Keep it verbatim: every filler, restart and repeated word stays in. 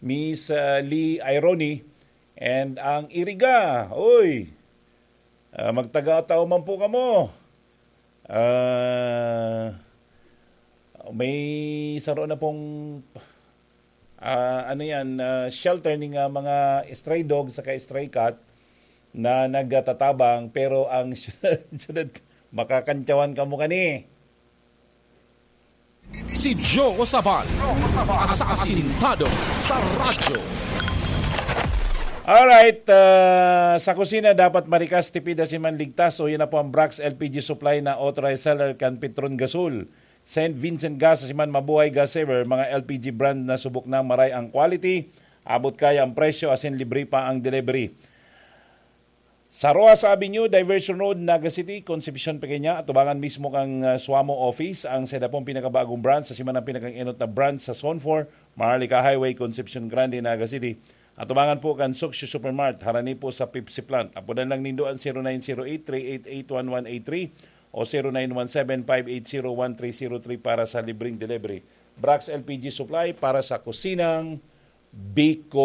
Miss, ah, Lee Irony, and ang Iriga. Oy, ah, magtaga-Otao man po kamo. Ah, may saro na pong, ah, ano yan, ah, shelter ning, ah, mga stray dog saka stray cat na nagtatabang, pero ang syudad, syudad, makakantyawan kamo kani. Si Joe Sabal, asasintado sa radyo. Alright, ah, sa kusina dapat marikas, tipid, asin man ligtas. O, yan na po ang Brax L P G Supply na authorized seller kan Petron Gasol, Saint Vincent Gas, asin man Mabuhay Gas Saver, mga L P G brand na subok na maray ang quality, abot kaya ang presyo, asin libre pa ang delivery. Sa Rojas Avenue, Diversion Road, Naga City, Concepcion, Pequeña, atubangan mismo kan, ah, Suamo Office, ang saida pong pinakabagong branch, asin man ang pinakaenot na branch sa Zone four, Maharlika Highway, Concepcion Grande, Naga City. Atubangan po kan Suksyo Supermart, harani po sa Pepsi Plant. Apodan lang nindo ang zero nine zero eight three eight eight one one eight three o zero nine one seven five eight zero one three zero three para sa libreng delivery. Brax L P G Supply para sa kusinang Bicolano.